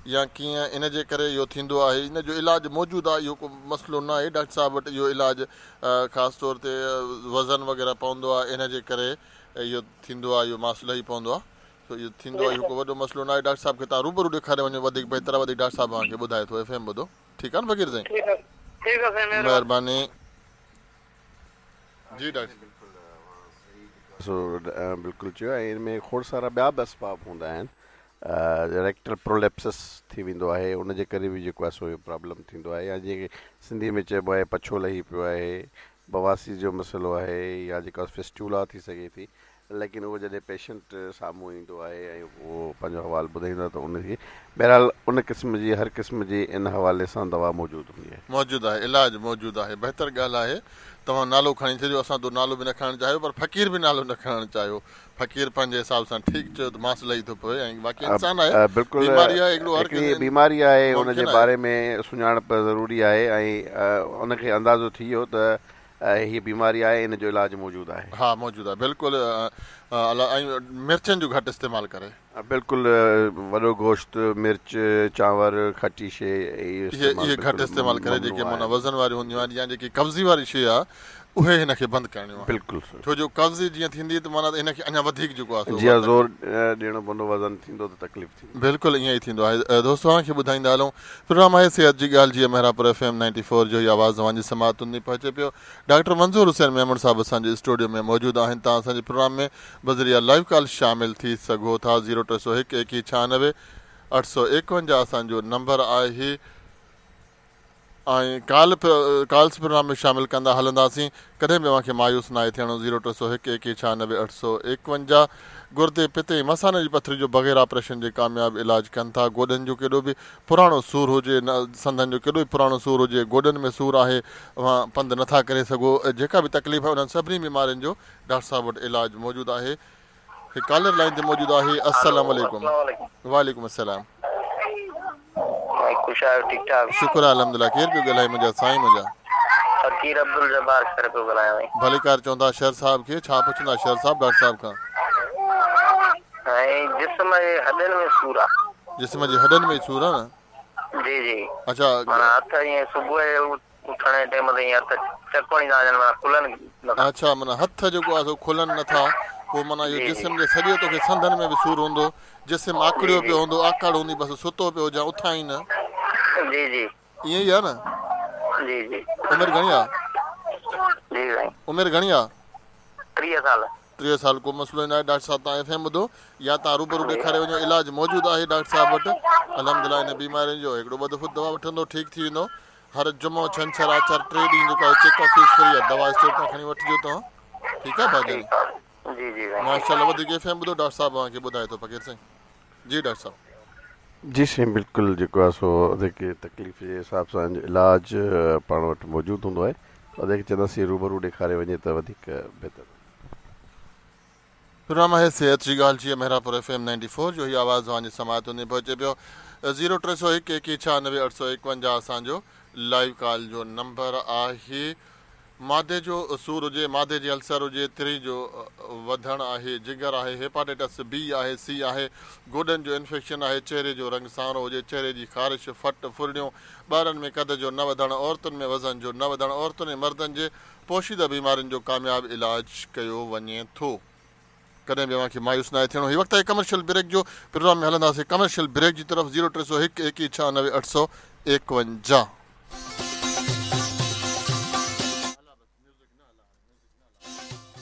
يا ڪيئن ان جي ڪري اهو ٿيندو آهي ان جو علاج موجود آهي اهو ڪو مسئلو نه آهي ڊاڪٽر صاحب وٽ اهو علاج خاص طور تي وزن وغيره پوندو آهي ان جي ڪري اهو ٿيندو آهي اهو ماس لهي پوندو آهي سو اهو ٿيندو آهي اهو ڪو وڏو مسئلو نه آهي ڊاڪٽر صاحب کي توهان روبرو ڏيکاري وڃو وڌيڪ بهتر آهي وڌيڪ ڊاڪٽر صاحب اوهان کي ٻڌائي ٿو ايف ايم ٻڌو ٺيڪ آهي نه فقير سائين ٺيڪ آهي ٺيڪ آهي سائين مهرباني جي ڊاڪٽر سو بلڪل چيو ۽ ان ۾ کوڙ سارا ٻيا به اسباب هوندا آهن ريڪٽل پروليپسس ٿي ويندو آهي ان جي ڪري به جيڪو آهي سو اهو پرابلم ٿيندو آهي يا جيئن ڪي سنڌي ۾ چئبو آهي پڇو لهي پيو آهي بواسير جو مسئلو آهي يا جيڪا فسٽيولا ٿي سگهي ٿي ليڪن اهو جڏهن پيشنٽ سامهون ايندو آهي ۽ اهو پنهنجو حوال ٻڌائيندو آهي ته ان کي بهرحال ان قسم جي هر قسم جي ان حوالي سان دوا موجود هوندي آهي. موجود آهي علاج موجود آهي بهتر ڳالهه آهي توهان نالو کڻي ڇڏيو اسان تو نالو به نه کڻڻ چاهيو پر فقير به نالو نه کڻڻ چاهيو فقير پنهنجي حساب سان ٺيڪ چيو ته ماس لهي ٿو پوي ۽ باقي انسان آهي بلڪل بيماري آهي هڪڙو هر هڪڙي ڪنهن بيماري آهي ان جي ممڪن آهي. باري ۾ سڃاڻپ ضروري آهي ۽ ان کي اندازو ٿي ويو ته هيء بيماري آهي ان جو علاج موجود آهي. ها موجود آهي بلڪل ۽ مرچن جو گهٽ استعمال ڪري. بلڪل وڏو گوشت مرچ چانور کٽي شي اهي اهي استعمال اهي گهٽ بلڪل استعمال ڪري ممنوع جيڪي معنيٰ آهن. وزن واريون هونديون آهن يا جيڪي قبضي واري شي آهي اهي هن کي بند ڪرڻيون آهن بلڪل ڇو جو قبضي جيئن ٿيندي ته معنيٰ هن کي اڃا وڌيڪ جيڪو آهي سو جي ها زور ڏيڻو پوندو وزن ٿيندو ته تڪليف ٿيندي. بلڪل ائين ئي ٿيندو آهي دوستو اوهان کي ٻڌائيندا هلون پروگرام آهي صحت جي ڳالهه جيئن Mehrabpur F M ninety four جو هي آواز اوهان جي سماعتن تائين پهچي پيو ڊاڪٽر منظور حسين ميمڻ صاحب اسان جي اسٽوڊيو ۾ موجود آهن توهان اسان جي پروگرام ۾ بذريعه لائيو ڪال شامل ٿي سگهو ٿا زيرو 301 21 96 851 اسان جو نمبر آهي ۽ ڪال ڪالس پروگرام ۾ شامل ڪندا هلنداسين ڪڏهن به اوهان کي مايوس ناهي ٿيڻو زيرو 301 21 96 851 گردي پتي ۽ مثاني جي پٿري جو بغير آپريشن جي ڪامياب علاج ڪن ٿا گوڏن جو ڪيڏو به پراڻو سور هجي سنڌن جو ڪيڏو به پراڻو سور هجي گوڏن ۾ سور آهي اوهان پنڌ نٿا ڪري سگهو جيڪا به تڪليف آهي انهن سڀني بيمارين جو ڊاڪٽر صاحب وٽ علاج موجود آهي هڪ ڪالر لائين تي موجود آهي السلام عليڪم وعليڪم السلام ڀائي خوش آهيو ٺيڪ ٺاڪ. شڪر آهي الحمدلله ڪير پيو ڳالهائي منهنجا سائين منهنجا. فقير عبدالجبار شر پيو ڳالهايان سائين. ڀليڪار چوندا شر صاحب کي ڇا پڇندا شر صاحب ڊاڪٽر صاحب کان. سائين جسم جي هڏن ۾ سور آ. جسم جي هڏن ۾ سور آ نه. جي جي. اڇا. معنيٰ هٿ ائين صبح جو اٿڻ جي ٽيم تي ائين هٿ چڪ هڻي ٿا وڃن معنيٰ کلن نٿا. اڇا معنيٰ هٿ جيڪو آهي سو کلن نٿا پوء معنيٰ اهو جي جي. جسم جي سڄي توکي سنڌن ۾ به سور هوندو جسم جي آڪڙيو جي. پيو هوندو آڪڙ هوندي بس ستو پيو هجان اٿان ئي نه. جي جي. ائين ئي آهي نه. جي جي. عمر گهڻي آ؟ جي سائين. عمر گهڻي آ؟ 30 سال. 30 سال ڪو مسئلو ئي ناهي ڊاڪٽر صاحب توهان ايف ايم ٻڌو يا توهان روبرو ڏيکاري وڃو علاج موجود آهي ڊاڪٽر صاحب وٽ الحمدلله ان بيمارين جو هڪڙو ٻه دفعو دوا وٺندو ٺيڪ ٿي ويندو هر جمعو ڇنڇر آچر ٽي ڏينهن جيڪو آهي چيڪ اپ فيس فري آهي دوا اسٽور تان کڻي وٺجو توهان ٺيڪ آهي ڀاء جاني جي جي سائين ماشاءالله وڌيڪ ايف ايم ٻڌو ڊاڪٽر صاحب اوهان کي ٻڌائي ٿو فقير سائين جي ڊاڪٽر صاحب. جي سائين بلڪل جيڪو آهي سو ادي کي تڪليف جي حساب سان علاج پاڻ وٽ موجود هوندو آهي ادي کي چونداسين روبرو ڏيکاري وڃي ته وڌيڪ بهتر. پروگرام آهي صحت جي ڳالهه جيئن Mehrabpur F M ninety four جو هي آواز اوهان جي سماعتن تائين پهچي پيو زيرو 301 21 96 851 اسان جو لائيو ڪال جو نمبر آهي معدي جو سور هجي معدي جي السر هجي تري جو وڌڻ آهي جگر آهي هيپاٽائٽس بي آهي سي آهي گوڏن جو انفيڪشن آهي چهري جو رنگ سانورو هجي چهري جي خارش ڦٽ ڦرڙيون ٻارن ۾ قد جو نه وڌڻ عورتن ۾ وزن جو نه وڌڻ عورتن ۽ مردن جي پوشيده بيمارين جو ڪامياب علاج ڪيو وڃي ٿو. ڪڏهن به اوهان کي مايوس ناهي ٿيڻو. هي وقت آهي ڪمرشل بريڪ جو. پروگرام ۾ هلنداسين ڪمرشل بريڪ جي طرف زيرو 301 21 96 851.